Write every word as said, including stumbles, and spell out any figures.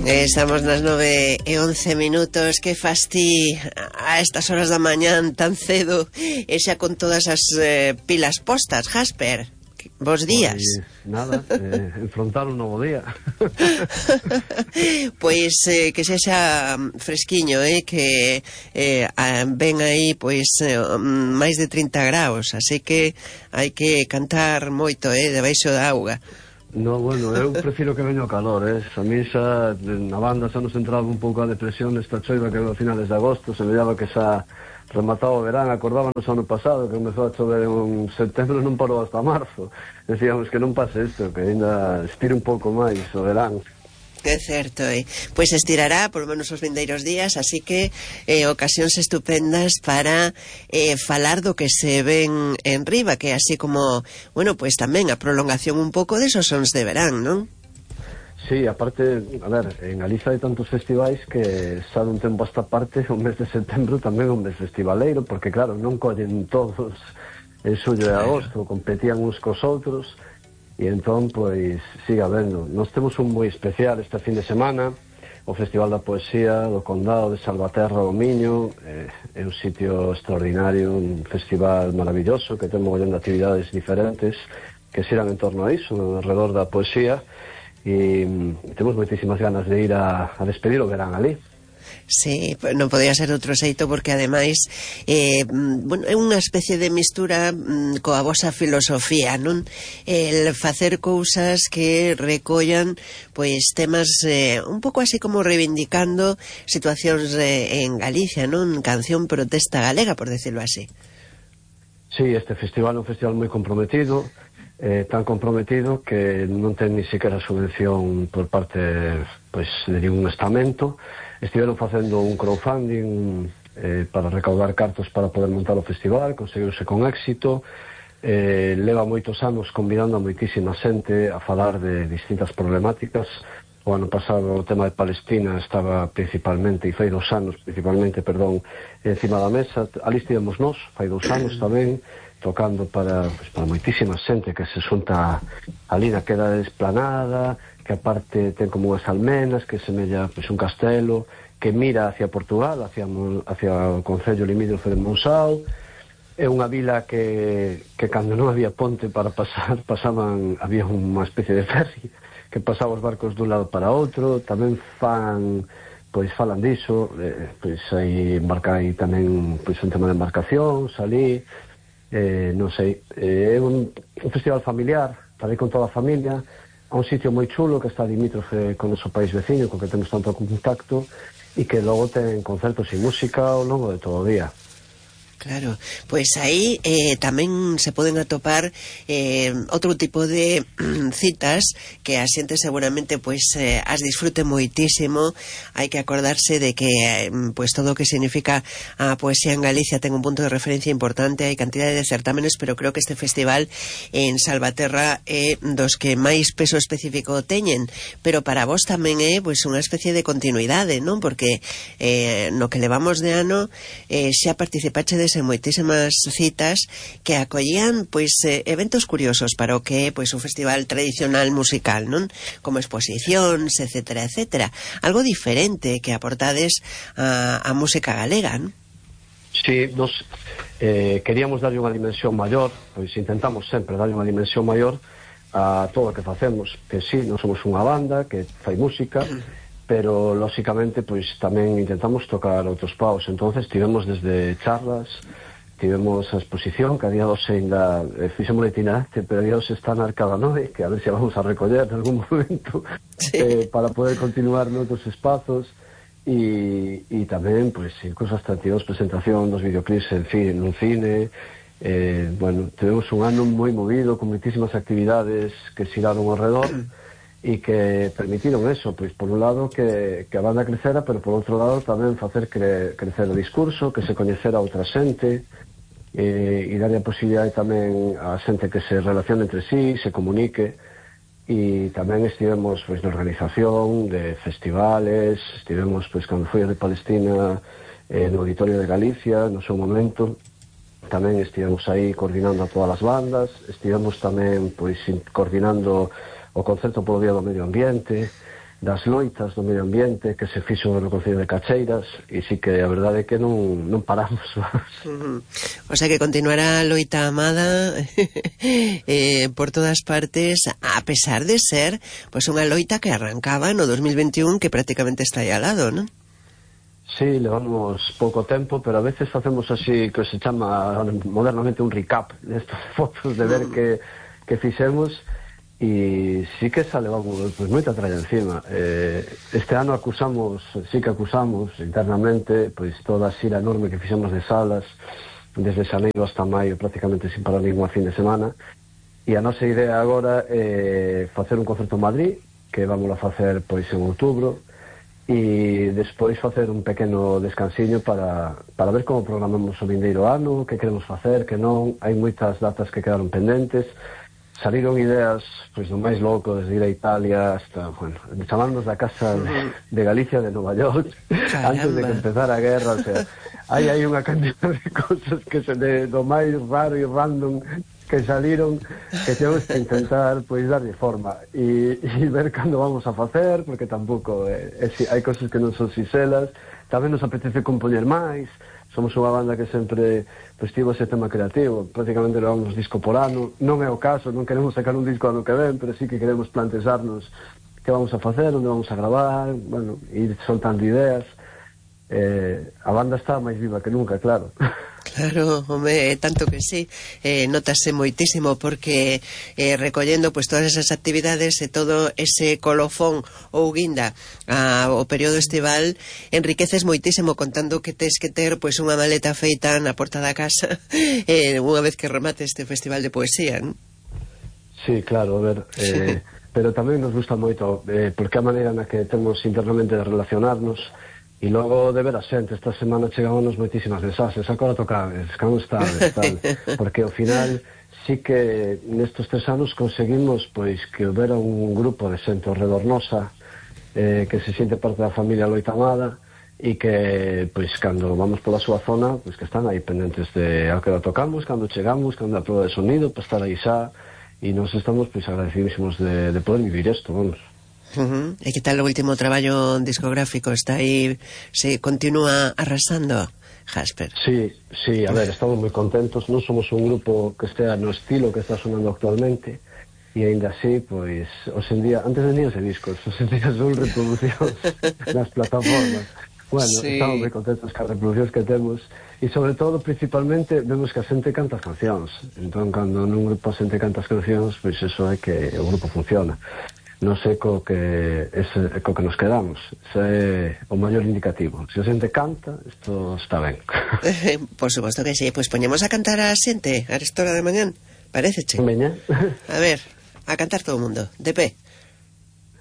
Estamos nas nove e once minutos. Que fastí a estas horas da mañán tan cedo e xa con todas as eh, pilas postas, Jasper. Bos días. Pois nada, eh, enfrontar un novo día. Pois eh, que sexa fresquiño, eh, que eh, ven aí pois eh, máis de trinta graus, así que hai que cantar moito, eh, debaixo da auga. No, bueno, eu prefiro que veña o calor, eh. A mí xa, na banda xa nos entraba un pouco a depresión nesta choiva que a finales de agosto, se me daba que xa remataba o verán. Acordábanos ano pasado que comezou a chover en setembro e non parou hasta marzo. Decíamos que non pase isto, que ainda estire un pouco máis o verán. É certo, eh? Pois estirará por lo menos os vindeiros días, así que eh, ocasións estupendas para eh, falar do que se ven en riba, que así como, bueno, pois tamén a prolongación un pouco desos sons de verán, non? Sí, aparte, a ver, en Galiza hai tantos festivais que xa dun tempo a esta parte, o mes de setembro tamén é un mes festivaleiro, porque claro, non collen todos en xullo e agosto, competían uns cos outros. E entón, pois, siga vendo. Nós temos un moi especial este fin de semana, o Festival da Poesía do Condado de Salvaterra do Miño. É, é un sitio extraordinario, un festival maravilloso que ten mogollón de actividades diferentes que xeran en torno a iso, alrededor da poesía, e temos moitísimas ganas de ir a, a despedir o verán ali. Sí, non podía ser outro xeito, porque ademais eh, bueno, é unha especie de mistura mm, coa vosa filosofía, non? El facer cousas que recollan pois temas eh, un pouco así como reivindicando situacións eh, en Galicia, non? Canción protesta galega, por decirlo así. Sí, este festival é un festival moi comprometido, eh, tan comprometido que non ten ni siquiera subvención por parte pois, de ningún estamento. Estiveron facendo un crowdfunding eh, para recaudar cartos para poder montar o festival, conseguiuse con éxito. Eh, leva moitos anos convidando a moitísima xente a falar de distintas problemáticas. O ano pasado o tema de Palestina estaba principalmente, e fai dos anos principalmente, perdón, encima da mesa. Ali estivemos nós, fai dos anos tamén, tocando para, pues, para moitísima xente que se xunta ali na queda esplanada, que aparte ten como unhas almenas, que semella pues, un castelo, que mira hacia Portugal, hacia, hacia o concello limítrofe de Monsao. É unha vila que, que cando non había ponte para pasar, pasaban, había unha especie de ferry que pasaba os barcos dun lado para outro. Tamén fan, pois falan diso, eh, pois aí embarca aí tamén pois, un tema de embarcacións ali, eh, non sei, é eh, un, un festival familiar, para ir con toda a familia, a un sitio moi chulo que está limítrofe con o noso país veciño, con que temos tanto contacto, e que logo ten concertos e música ao longo de todo o día. Claro, pois aí eh, tamén se poden atopar eh, outro tipo de citas que a xente seguramente pois eh, as disfrute moitísimo. Hai que acordarse de que eh, pois todo o que significa a poesía en Galicia ten un punto de referencia importante. Hai cantidade de certámenes, pero creo que este festival en Salvaterra é dos que máis peso específico teñen, pero para vos tamén é pois unha especie de continuidade, non? Porque eh, no que levamos de ano eh, xa participachedes en moitísimas citas que acollían pois eh, eventos curiosos para o que é pois un festival tradicional musical, non? Como exposicións, etcétera, etcétera. Algo diferente que aportades a, a música galega, non? Sí, nos eh, queríamos darlle unha dimensión maior, pois intentamos sempre darlle unha dimensión maior a todo o que facemos, que sí, non somos unha banda que fai música, pero lóxicamente pois tamén intentamos tocar outros paus. Entonces tivemos desde charlas, tivemos a exposición que a día dos ainda eh, fixemos itinerante, pero a día dos está na Arcada Nove, que a ver se vamos a recoller en algún momento, sí. eh, para poder continuar noutros espazos, e, e tamén pois cosas atractivas, presentación dos videoclips en cine, nun cine. Eh, bueno, tivemos un ano moi movido con moitísimas actividades que xiraron ao redor e que permitiron eso, pois por un lado que, que a banda crecera, pero por outro lado tamén facer cre, crecer o discurso, que se coñecera a outra xente, eh, e darlle a posibilidade tamén a xente que se relacione entre sí, se comunique. E tamén estivemos pois na organización de festivales, estivemos pois cando foi de Palestina eh, no Auditorio de Galicia no seu momento, tamén estivemos aí coordinando a todas as bandas, estivemos tamén pois coordinando o concerto polo Día do Medio Ambiente. das loitas do medio ambiente que se fixo no Concello de Cacheiras, e sí que a verdade é que non, non paramos. Uh-huh. O sea que continuará a loita amada eh, por todas partes, a pesar de ser pues unha loita que arrancaba no dos mil veintiún, que prácticamente está aí al lado, non? Sí, levamos pouco tempo, pero a veces facemos así, que se chama modernamente un recap destas fotos de ver que, que fixemos. E sí que xa levamos pues, moita tralla encima. Eh, este ano acusamos, sí que acusamos internamente pois toda a xira enorme que fixemos de salas desde xaneiro hasta maio, prácticamente sin parar ningún fin de semana, e a nosa idea agora é facer un concerto en Madrid, que vamos a facer pois en outubro, e despois facer un pequeno descansiño para, para ver como programamos o vindeiro ano, que queremos facer, que non. Hai moitas datas que quedaron pendentes. Saliron ideas, pois, do máis loco, desde ir a Italia hasta, bueno, chamarnos da casa de, de Galicia, de Nova York, antes de que empezara a guerra. O sea, hai aí unha cantidad de cosas que se de, do máis raro e random que saliron, que temos que intentar, pois, darlle forma e, e ver cando vamos a facer, porque tampouco é, é, hai cosas que non son sinxelas. Tamén nos apetece compoñer máis. Somos unha banda que sempre pues, tivo ese tema creativo, prácticamente levamos disco por ano, non é o caso, non queremos sacar un disco ano que ven, pero sí que queremos plantexarnos que vamos a facer, onde vamos a gravar, bueno, ir soltando ideas. Eh, a banda está máis viva que nunca, claro. Claro, home, tanto que sí, eh, notase moitísimo porque eh, recollendo pues todas esas actividades e todo ese colofón ou guinda ao período estival, enriqueces moitísimo contando que tes que ter pues unha maleta feita na porta da casa eh, unha vez que remate este festival de poesía, non? Sí, claro, a ver, eh, pero tamén nos gusta moito eh, porque a maneira na que temos internamente de relacionarnos. E logo de ver a xente, esta semana chegámonos moitísimas mensaxes, agora tocades, como estades, tal, porque ao final sí que nestes tres anos conseguimos pois que houbera un grupo de xente ao redor nosa eh, que se siente parte da familia loitamada e que pois cando vamos pola súa zona pois que están aí pendentes de ao que la tocamos, cando chegamos, cando a prova de sonido, para estar aí xa, e nos estamos pois agradecidísimos de, de poder vivir isto, vamos. Uh-huh. E que tal o último traballo discográfico? Está aí, se continúa arrasando, Jasper? Sí, sí, a ver, estamos moi contentos. Non somos un grupo que estea no estilo que está sonando actualmente, e ainda así, pois, hoxe en día, antes venían ese discos, hoxe en día son reproduccións nas plataformas. Bueno, sí. Estamos moi contentos cas reproduccións que temos, e sobre todo, principalmente, vemos que a xente canta as cancións. Entón, cando nun grupo a xente canta as cancións, pois eso é que o grupo funciona. Non sei co que, ese, co que nos quedamos. Ese é o maior indicativo. Se a xente canta, isto está ben. Por suposto que sí. Pois pues poñemos a cantar a xente a esta hora de mañán. Parece, che? Veña. A ver, a cantar todo o mundo. De pé.